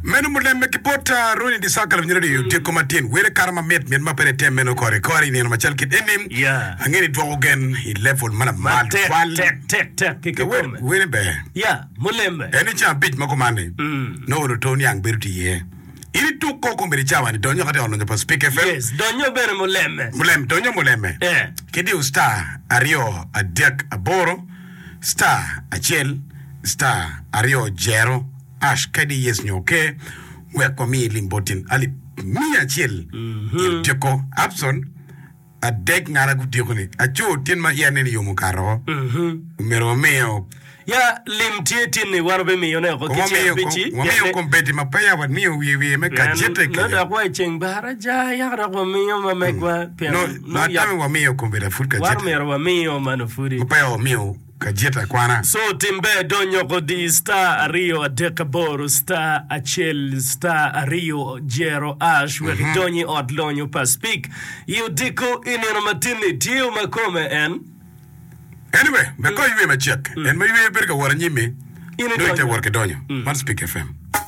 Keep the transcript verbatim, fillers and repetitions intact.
Meno mulemme ki bot uh, Ronnie Disaka lawiny radio tyeko matin wele kara mamit mit ma pene tem meno kore kore i nino macal kit eni Yeah. angeni dwoko gen i level ma lamal Tek, twal tek, tek, tek, ki kikome. wele ber Ya, mulembe. en i ceng abic ma kumanni nongo luto niang bedo tye iye in ituk ko kombeddi cawa ni donyo kati ot lonyo pa Speak FM Yes, donyo bene mulemme. mulem donyo muleme Eh. ki diyo star aryo adek aboro star acel star aryo jero ash kadi yes nyo ke wek wami lim botin alip miya acel i otyeko Abson adek ngara gutyeko ni aco tin ma iya neni yomo kato omyero wamiyo Ya, lim tye tin ni wan obimiyo ne oko ki ceng wamiyo abici. wamiyo kombeddi ma peya wamiyo wiye wiye me kajete No kede dok wa i ceng baraja yaka dok wamiyo ma megwa pien no no yak atame wamiyo kombeddi apud wan kajete myero wamiyo mano pudi. ma peya wamiyo kajete akwana So timbe donyo kodi star ariyo adek aboro star acel star ariyo jero ash wek idonyi ot lonyo pa Speak. I odiko i nino matin-ni tye ma kome en Anyway, me ko ywe macek. En ma ywe bedo ka wot anyimi, In nongo ite idonyo. wot ki donyo. Man Speak FM.